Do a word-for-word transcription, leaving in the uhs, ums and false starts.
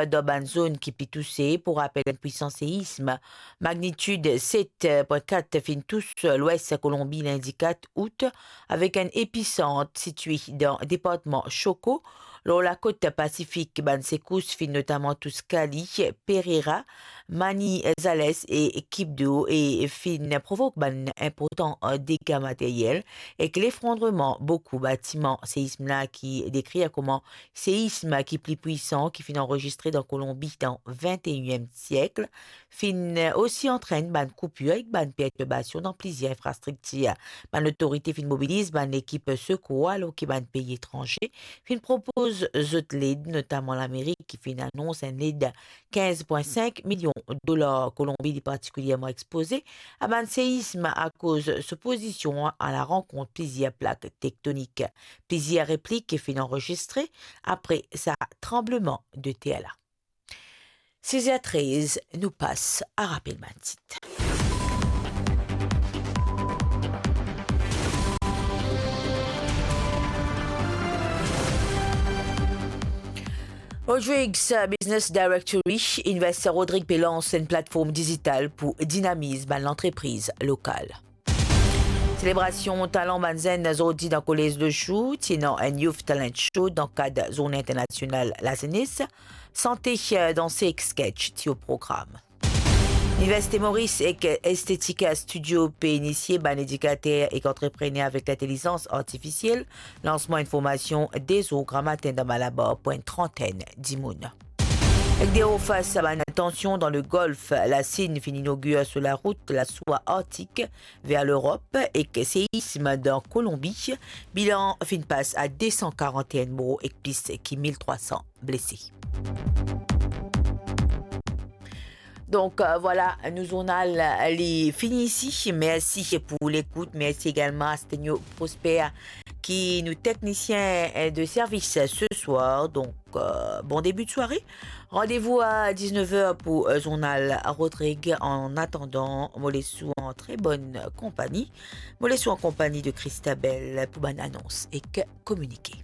dan bann zone ki pli touse. Pou rapel, enn pwisan seism magnitid set pwin kat finn tous lwes Kolonbi lindi kat out, avek enn episant sitye dan departman Chocó, lor lakot Pasifik. Bann sekous finn notaman tous Cali, Pereira, Manizales e Quibdó e finn provok bann inportan dega materyel ek lefrondreman boukou batiman. Seism la ki dekrir kouma seism ki pli pwisan ki finn anrezistre dan Kolonbi dan vinteyinm siek, finn osi antrenn bann koupir ek bann pertirbasion dan plizier infrastriktir. Bann lotorite finn mobiliz bann lekip sekour, alor ki bann pei etranze finn propoz zot led, notaman Lamerik ki finn anons enn led kinz pwin sink milion dolar. Kolonbi li partikilyerman expoze a bann seism akoz so pozision a larankont plizier plak tektonik. Plizier replik finn anrezistre apre sa tranbleman de ter la. Siz er trez, nou pas a rapel bann tit. Rodrigues Business Directory, Investor Rodrigue pe lans enn platform dizital pou dinamiz bann lantrepriz lokal. Selebrasion talan bann zenn zordi dan Kolez Lejou, ti ena enn Youth Talent Show dan kad Zourne Internasional Lazenes, sante, danse ek sketch ti o program. Liniversite Moris ek Estetika Studio pe inisie bann edikater ek antreprener avek lintelizans artifisiel. Lansman enn formasion de zour gramatin dan Malabar pou enn trantenn dimoun. Ek de ofas a bann tansion dan Legolf, Lasinn finn inogir so larout laswa Artik ver Lerop, ek seism dan Kolonbi, bilan finn pas a de san karant-enn mor ek plis ki mil trwa san blese. Donk, euh, vwala, nou zournal, euh, li fini isi. Mersi pou lekout. Mersi egalman a Stenio Prosper ki nou teknisien, euh, de servis se swar. Donk, euh, bon debi de sware. Randevou a diznef er pou, euh, zournal Rodrigue. An atandan, mo les ou an tre bonn konpagni. Mo les ou an konpagni de Christabel pou bann anons ek kominike.